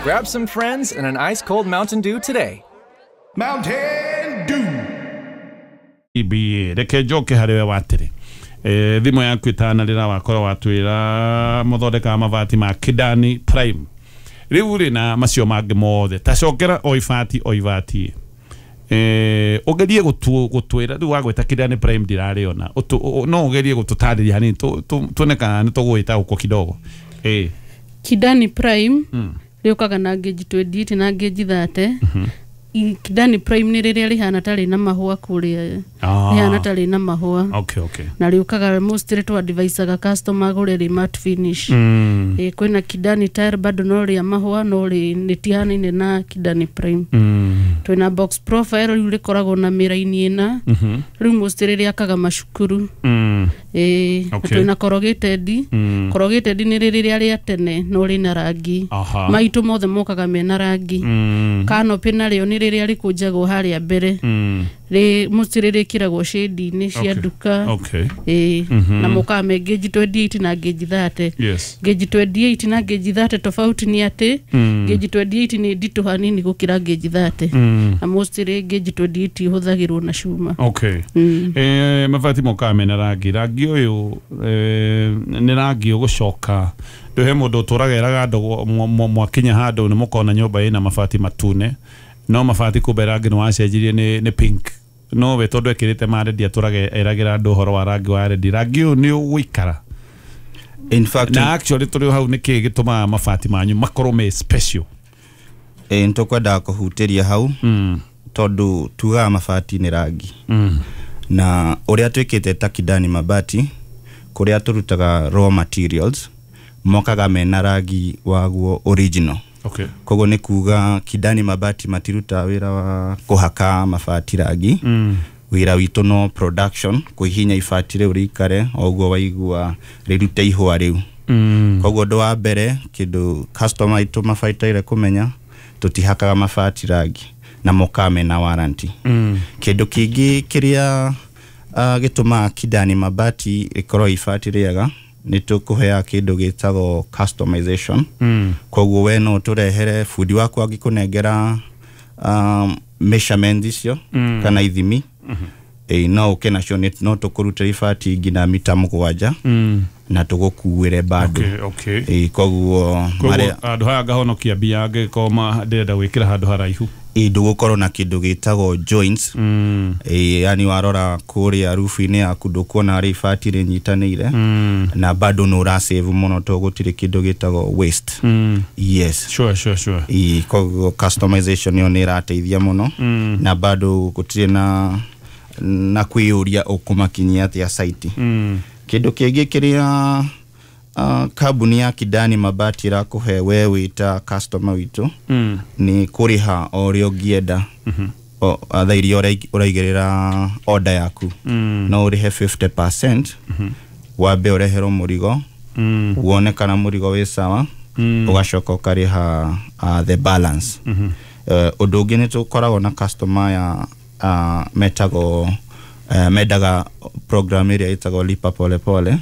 Grab some friends and an ice cold Mountain Dew today. Mountain Dew. BA reke njoke harĩ we watĩrĩ thimũ yaku ĩtanarĩra wakorwo watwĩra mũthondekaga mabati ma Kidani Prime rĩu rĩ na macio mangĩ mothe tacokera o ibati o ibati ũgerie gũtwĩra rĩu wagwĩta Kidani Prime ndirarĩona. No ũgerie gũtũtarĩria hanini tuone kana nĩ tũgũĩta ũko kidogo. Kidani Prime rĩũkaga na gauge 28 na gauge 30. Kidani Prime nĩ rĩrĩa rĩhana ta rĩna mahũa kũrĩa. Rĩhana ta rĩna mahũa. Na rĩũkaga mostly tũ advisaga customer agũre rĩ matte finish. Kwĩna Kidani Tile bado no rĩa mahũa no rĩ rĩtihanaine na Kidani Prime. Twĩna box profile rĩu rĩkoragwo na mĩraini ĩna. Rĩu mostly rĩakaga macukuru. Na twĩna corrugated. Corrugated nĩ rĩrĩa rĩa tene no rĩna rangi. Maitũ mothe mokaga mena rangi. Canopy narĩo nĩ rĩrĩa rĩkũnjagwo harĩa mbere. Rĩ mostly rĩkĩragwo shade-inĩ cia nduka. Na mokaga me gauge 28 na gauge 30. Gauge 28 na gauge 30 tofauti nĩ atĩ gauge 28 nĩ nditũ hanini gũkĩra gauge 30. Na mostly gauge 28 ihũthagĩrwo na cuma. Mabati mokaga mena rangi. Rangi ũyũ nĩ rangi ũgũcoka ndũhe mũndũ ũtũraga eraga andũ mwakinya handũ nĩ mũkona nyũmba ĩna mabati matune no mabati kumbe rangi nĩ wacenjirie nĩ pink no we tondũ ekĩrĩte ma red atũraga eragĩra andũ ũhoro wa rangi wa red. Rangi ũyũ nĩ ũgũikara? In fact, na actually tũrĩ o hau nĩ kĩĩ gĩtũmaga mabati manyu makorwo me special? Nĩtũkwendaga kũhutĩria hau tondũ tugaga mabati nĩ rangi na ũrĩa twĩkĩte ta Kidani Mabati kũrĩa tũrutaga raw materials mokaga mena rangi waguo original. Koguo nĩ kuga Kidani Mabati matirutaga wĩra wa kũhaka mabati rangi. Wĩra witũ no production, kũhihinya ibati rĩu rĩikare o ũguo waigua rĩrute ihũa rĩu. Koguo ũndũ wa mbere kĩndũ customer aitũ mabataire kũmenya, tũtihakaga mabati rangi na mokaga mena warranty. Kĩndũ kĩngĩ kĩrĩa gĩtũmaga Kidani Mabati rĩkorwo ibati rĩega nĩ tũkũheaga kĩndũ gĩtagwo customization. Koguo we no ũtũrehere bundi waku angĩkũnengera measurement icio kana ithimi no ũke nacio no tũkũrutĩra ibati nginya mita 7 na tũgũkuĩre bado. Koguo koguo marĩa handũ haya ngahonokia mbia angĩkorwo ndĩrenda gwĩkĩra handũ haraihu. Ndũgũkorwo na kĩndũ gĩtagwo joints. Yani warora kũrĩa roof-inĩ yaku ndũkuona harĩa ibati rĩnyitanĩire na bado nĩ ũrasave mũno tondũ gũtirĩ kĩndũ gĩtagwo waste. Yes. Sure. Koguo customization ĩyo nĩ ĩrateithia mũno na bado gũtirĩ na kwĩyũria ũkũmakinyia atĩa site. Kĩndũ kĩngĩ kĩrĩa kambuni ya Kidani Mabati ĩrakũhe we wĩ ta customer witũ nĩ kũrĩha o ũrĩa ũngĩenda. Thaa iria ũraigĩrĩra order yaku no ũrĩhe 50% wambe ũreherwo mũrigo wone kana mũrigo wĩ sawa ũgacoka ũkarĩha the balance. Ũndũ ũngĩ nĩ tũkoragwo na customer ya metagwo mendaga program ĩrĩa ĩtagwo lipa pole pole.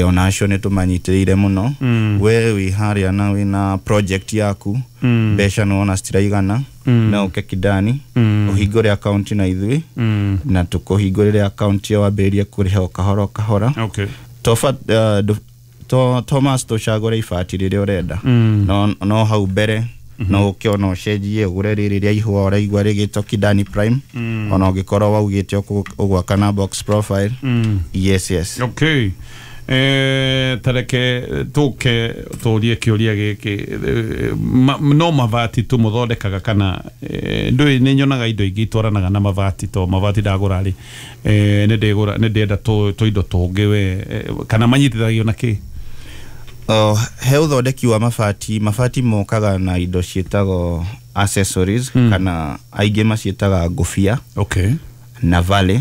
Ona acio nĩ tũmanyitĩrĩire mũno. We wĩ harĩa na wĩna project yaku mbeca nĩ wona citiraigana no ũke Kidani ũhingũre account na ithuĩ na tũkũhingũrĩre account ĩyo wambĩrĩrie kũrĩha o kahora o kahora. Toba, to Thomas tũcagũre ibati rĩrĩa ũrenda no hau mbere no ũke ona ũcenjie ũgũre rĩrĩ rĩa ihũa ũraigua rĩgĩtwo Kidani Prime ona ũngĩkorwo waugĩte ũgwaka na box profile. Yes. Okay, tareke tũke tũrie kĩũria gĩkĩ. No mabati tu mũthondekaga kana ndũĩ nĩ nyonaga indo ingĩ itwaranaga na mabati to mabati ndagũra rĩ nĩ ndĩgũra nĩ ndĩrenda tũindo tũngĩ we kana manyitithagio na kĩ? He ũthondeki wa mabati, mabati mokaga na indo ciĩtagwo accessories kana aingĩ maciĩtaga ngũbia na vale.